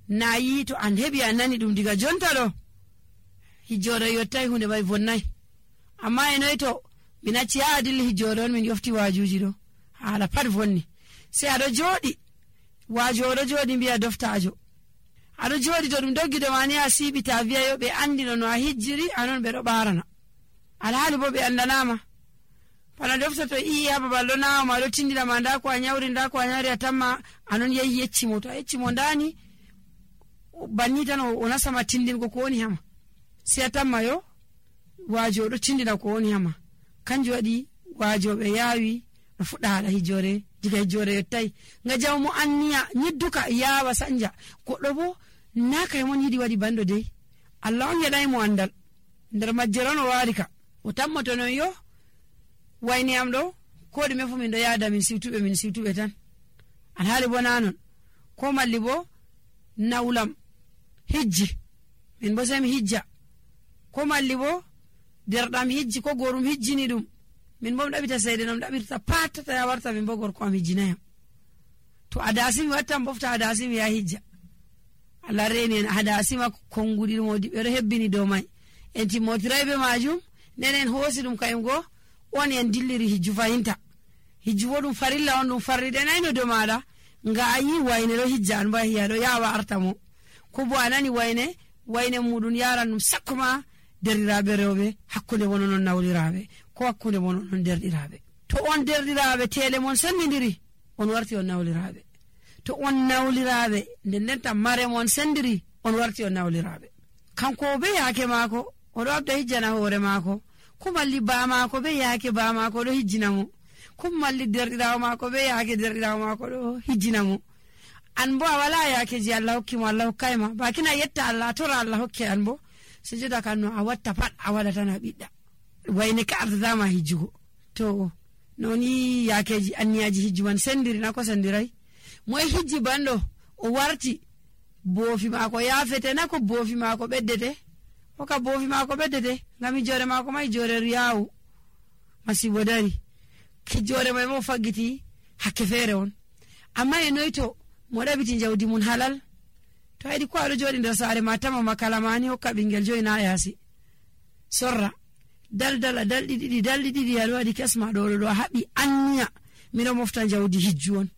nayi to an hebi an nani dum diga jonta do hijjore yottai hunde mai vonnai amma enoy to min acci yaa dilli hijjore on min yofti waajuji do hala pat vonni sai ado jodi waajo do jodi biya doftajo ado jodi to dum doggido mani a sibita wiya yo be andino no a hijjiri anon be do barana alhaali bo be andanama pala dofta to iya babal do nawo ma do tindira ma nda ko a nyawri atamma anon yehi yeccimo to yeccimo ndani banni tan o nasama tindin ko woni hama sai atamma yo waajo do tindina ko woni hama kanjo wadi waajo be yawi do fudda hala hijjore diga hijjore yottai nga jawmo anniya nyidduka yawa sanja goddo bo naka mon yidi wadi bando dei Allah on yedai mo andal nder majjerono warika o tammoto non yo wayni am do ko de mefu min do yaada min siwtube tan alhaali bo nanon ko malli bo nawlam hijji min bo semi hijja ko malli bo derdam hijji ko gorum hijjini dum min bo dabita seede nom dabita patata ya warta min bo gorko am hijjinayam to adasimi wattam bofta adasimi ya hijja Allah reni en adasima kongudi modi be hebbini do mai en timotiraybe majum nenen hosi dum kayum go on en dilliri hijju fayinta hijju wodum farilla on dum farride nayno do mada nga ayi wayne do hijjan ba hiya do yawa artamo ko bo anani wayne mudun yaran dum sakkuma derdiraabe rewbe hakkunde wono non nawliraabe ko hakkunde wono non derdirabe to on derdirabe tele mon sendiri on warti on nawliraabe to on nawliraabe den tan mare mon sendiri on warti on nawliraabe kanko be yake mako o do abda hijjana hore mako ko malli ba mako be yake ba mako do hijjina mo ko malli derdirawo mako be yake derdirawo mako do hijjina mo an bo wala yake ji Allah hokki mo Allah hokkayma bakina yetta Allah tora Allah hokke an bo sujada kanno a watta pat a wada tan a bidda wayne ka ardama hijjugo to noni yakeji anniyaji hijjuman sendiri na ko sendiray moy hijji bando o warti bofi mako yafete na ko bofi mako beddete o ka bofi mako beddete ngami jore mako may jore riyawu masibo dari ki jore may mo fagiti hakke fere on amma e noyto mo dabiti jawdi mun halal to edi ko ado jodi nder saare matama makalamani hokka bingel joyna yasi sorra daldi didi ado wadi kesma do habi anniya mino mofta jawdi hijju on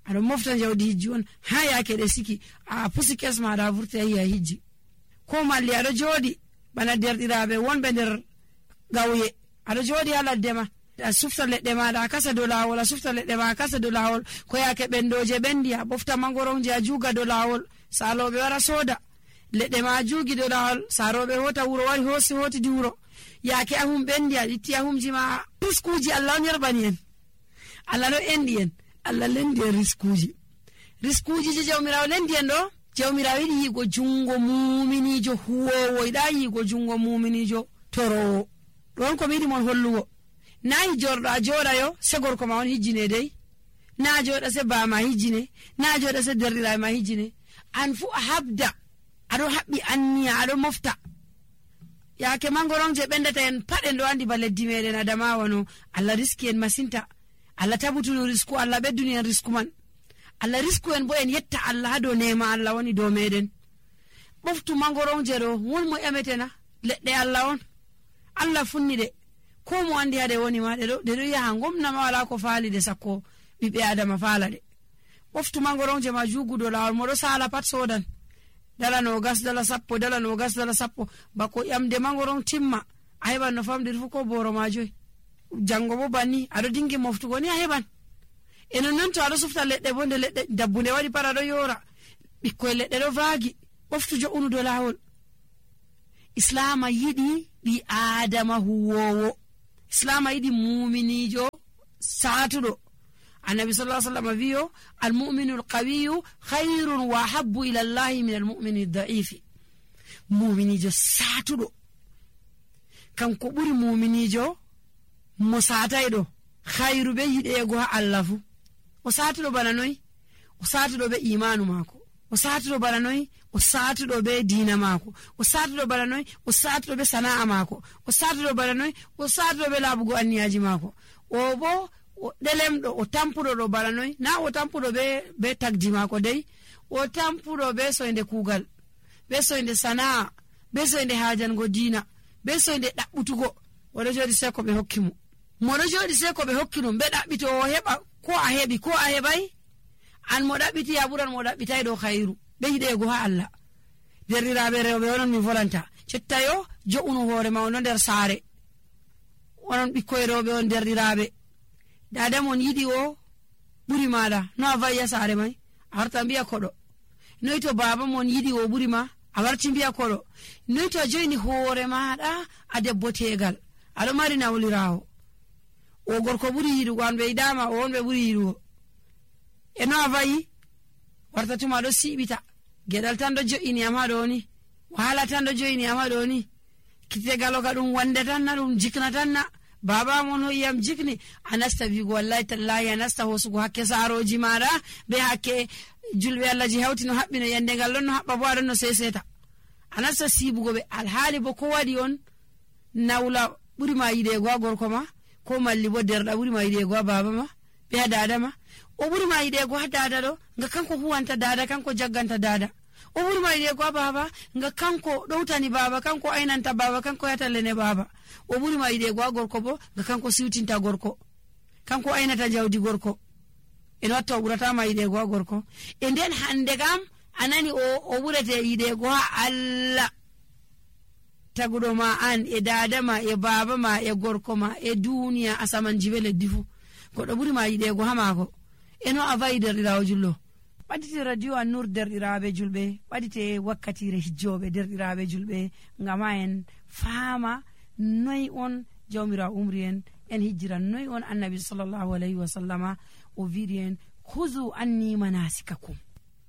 ado mofta jawdi hijju on ha yake de siki a pusi kesma da vurta ya hijji ko malli ado jodi bana derdirabe wonbe nder gawye ado jodi ala dema a sufta ledde ma da kasa do lawol a sufta ledde ma kasa do lawol ko yake bendoje bendi a bofta mangoronje a juga do lawol salobe wara soda ledde ma jugi do lawol sarobe hota wuro wari hosi hoti di wuro yake ahum bendi a itti ahumji ma riskuji Allah on yerbani en Allah no endi en Allah lendi riskuji je jawmirawo lendi en do jawmirawo yi go jungo muminijo huwowo ida yi go jungo muminijo toro don ko midi mon hollugo nayi jordo a joda yo se gorko ma on hijjine dey na joda se ba ma hijjine na joda se derdira ma hijjine an fu habda ado habbi anniya ado mofta yake mangoronje bendata en paden do andi baleddi meden adama wono Allah riski en masinta Allah tabutunu risku Allah bedduni en risku man Allah risku en bo en yetta Allah do nema Allah woni do meden boftu mangoronje do won mo emetena ledde Allah on Allah funni de ko mo andi hade woni ma de do yaha ngomna ma wala ko faali de sakko bibe adama faala de boftu mangoronje ma jugudo lawol mo do sala pat sodan dala no gas dala sappo bako yamde mangoron timma ayban no famdir fu ko boro ma joy jango bo bani ado dingi moftugo ni ayban eno non to ado sufta ledde bonde ledde dabbunde wadi para do yora bikko ledde do vaagi boftu jo unu do lawol islama yidi bi adama huwowo islama yidi mu'minijo satudo النبي صلى الله عليه وسلم فيه المؤمن القوي خير وحب إلى الله من المؤمن الضعيف مؤمن جو ساتو كان كبر مؤمن جو مساتايدو خير بيد يغو الله وساتو بنانوي وساتو be imanu mako وساتو بنانوي وساتو be dina mako وساتو بنانوي وساتو be sanaa mako وساتو بنانوي وساتو be labugo anniyaji mako obo delemdo o tampudo do baranoy na o tampudo be tagdi mako dey o tampuɗo be soyde kuugal be soyde sana'a be soyde haajango diina be soyde ɗaɓɓutugo oɗo jooɗi sey ko ɓe hokki mo moɗo jooɗi sey ko ɓe hokki ɗum ɓe ɗaɓɓito o heɓa ko a heɓi ko a heɓay an mo ɗaɓɓiti a ɓuran mo ɗaɓɓitay ɗo khayru ɓe hiɗeego ha Allah derɗiraaɓe rewɓe onon mi volanta cetta yo jo'unu hoore ma ono nder saare onon ɓikkoye rewɓe on derɗiraaɓe dada mon yiɗi o ɓuri maɗa no a vayya saare may a warta mbiya koɗo noy to baba mon yiɗi o ɓuri ma a warti mbiya koɗo noy to a joyni hoore maɗa a debbo tegal aɗo mari nawlirawo o gorko ɓuri yiɗugo an ɓe yiɗama o on ɓe ɓuri yiɗugo e no a vayi warta tuma ɗo siɓita geɗal tan ɗo jo'ini am ha ɗo ni wahala tan ɗo jo'ini am ha ɗo ni kitegalo ka ɗum wande tan na ɗum jikna tan na baba mon hoyyam jikni a nasta wigo wallahi tallahi a nasta hosugo hakke saaroji maɗa be hakke julɓe Allah ji hawti no haɓɓino yande ngal ɗon no haɓɓa bo aɗon no seseta a nasta sibugo ɓe alhaali bo ko waɗi on nawla ɓuri ma yiɗego ha gorko ma ko malli bo derɗa ɓuri ma yiɗego ha baba ma be ha dada ma o ɓuri ma yiɗego ha dada ɗo nga kanko huwanta dada kanko jagganta dada o ɓuri ma yiɗego ha baba nga kanko ɗowtani baba kanko aynanta baba kanko yatallene baba o ɓuri ma yiɗego ha gorko bo nga kanko siwtinta gorko kanko aynata jawdi gorko en watta o ɓuratama yiɗego ha gorko e nden hande kam anani o ɓurete yiɗego ha Allah taguɗo ma an e dada ma e baba ma e gorko ma e duniya asaman jibe leddi fu goɗɗo ɓuri ma yiɗego ha maako eno a vayi derɗirawo jullo ɓaɗite radio An-Nur derɗiraɓe julɓe ɓaɗite wakkatire hijjoɓe derɗiraɓe julɓe ngama en faama noy on jawmirawo umri en hijjira noy on annabi sallallahu alayhi wa sallama o wiɗi en huzu anni manasikakum